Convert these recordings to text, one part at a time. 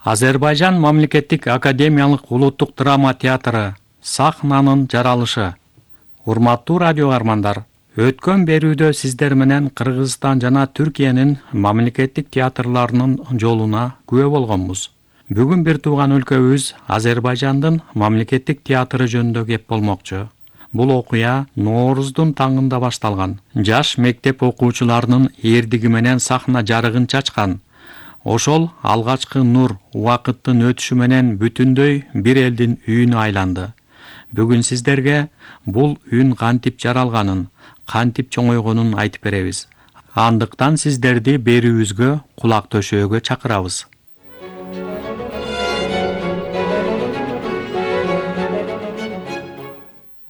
Азербайжан мамлекеттик академиялык улуттук драма театры сахнанын жаралышы. Урматтуу радио армандар, өткөн берүүдө сиздер менен Кыргызстан жана Түркиянын мамлекеттик театрларынын жолуна күбө болгонбуз. Бүгүн бир тууган өлкөбүз Азербайжандын мамлекеттик театры жөнүндө кеп болмокчу. Бул окуя Нооруздун таңында башталган. Жаш мектеп окуучуларынын эрдиги менен сахна жарыгын чачкан. Ошол алгачкы нур убакыттын өтүшү менен бүтүндөй бир элдин үйүнө айланды. Бүгүн сиздерге бул үн кантип жаралганын, кантип чоңойгонун айтып беребиз. Андыктан сиздерди берүүбүзгө кулак төшөөгө чакырабыз.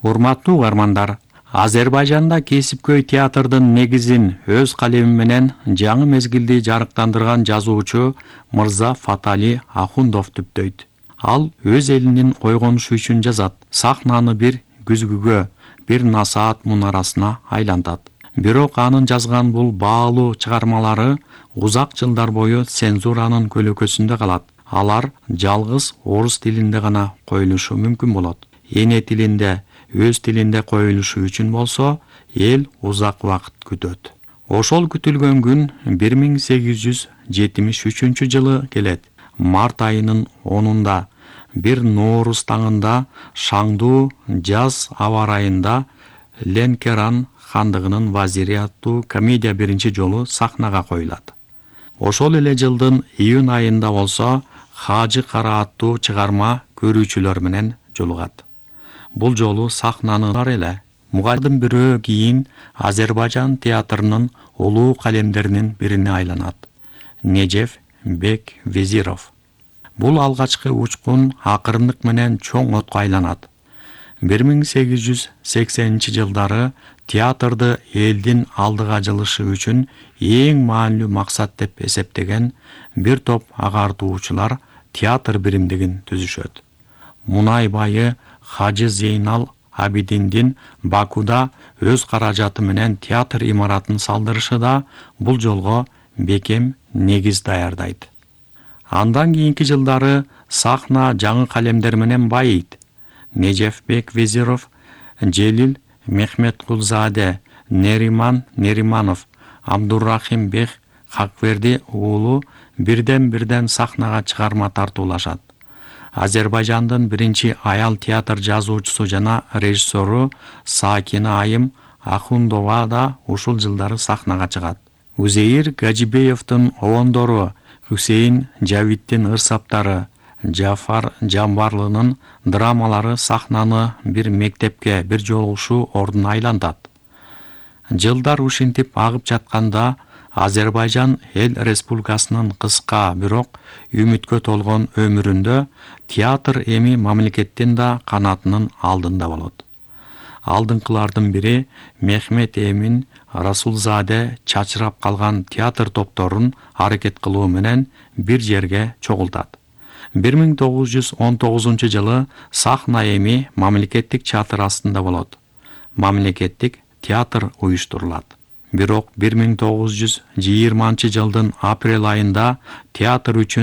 Урматтуу угармандар, Азербайжанда кесипкөй театрдын негизин өз калеми менен жаңы мезгилди жарыктандырган жазуучу Мырза Фатали Ахундов түптөйт. Ал өз элинин койгонушу үчүн жазат, сахнаны бир күзгүгө, бир насаат мунарасына айлантат. Бирок анын жазган бул баалуу чыгармалары узак жылдар бою цензуранын көлөкөсүндө калат. Алар жалгыз орус тилинде гана коюлушу мүмкүн болот. Эне тилинде, өз тилинде коюлушу үчүн болсо, эл узак убакыт күтөт. Ошол күтүлгөн күн 1873 жылы келет. Март айынын 10-унда бир Нооруз таңында шаңдуу жаз аба ырайында Ленкеран хандыгынын вазири аттуу комедия биринчи жолу сахнага коюлат. Ошол эле жылдын июнь айында болсо Хажы Кара аттуу чыгарма көрүүчүлөр менен жолугат. Бул жолу сахнаны эле мугалимдин бирөө кийин Азербайжан театрынын улуу калемдеринин бирине айланат. Нежеф Бек Везиров. Бул алгачкы учкун акырындык менен чоң отко айланат. 1880-жылдары театрды элдин алдыга жылышы үчүн эң маанилүү максат деп эсептеген бир топ агартуучулар театр биримдигин түзүшөт. Мунай байы Хажы Зейнал Абидиндин Бакуда өз каражаты менен театр имаратын салдырышы да бул жолго бекем негиз даярдайт. Андан кийинки жылдары сахна жаңы калемдер менен байыйт. Нежефбек Везиров, Желил Мехметкулзаде, Нериман Нериманов, Абдуррахим Бек Хакверди уулу бирден сахнага чыгарма тартуулашат. Азербайжандын биринчи аял театр жазуучусу жана режиссеру Сакина Айым Ахундова да ушул жылдары сахнага чыгат. Узейир Гаджибеевдин обондору, Хусейин Жавиттин ырсаптары, Жафар Жамбарлынын драмалары сахнаны бир мектепке бир жолугушуу ордуна айлантат. Жылдар ушинтип агып жатканда Азербайжан эл республикасынын кыска, бирок үмүткө толгон өмүрүндө театр эми мамлекеттин да канатынын алдында болот. Алдыңкылардын бири Мехмет Эмин Расулзаде чачырап калган театр топторун аракет кылуу менен бир жерге чогултат. 1919 жылы сахна эми мамлекеттик чатыр астында болот. Мамлекеттик театр уюштурулат. Бирок 1920 жылдын апрель айында театр үчүн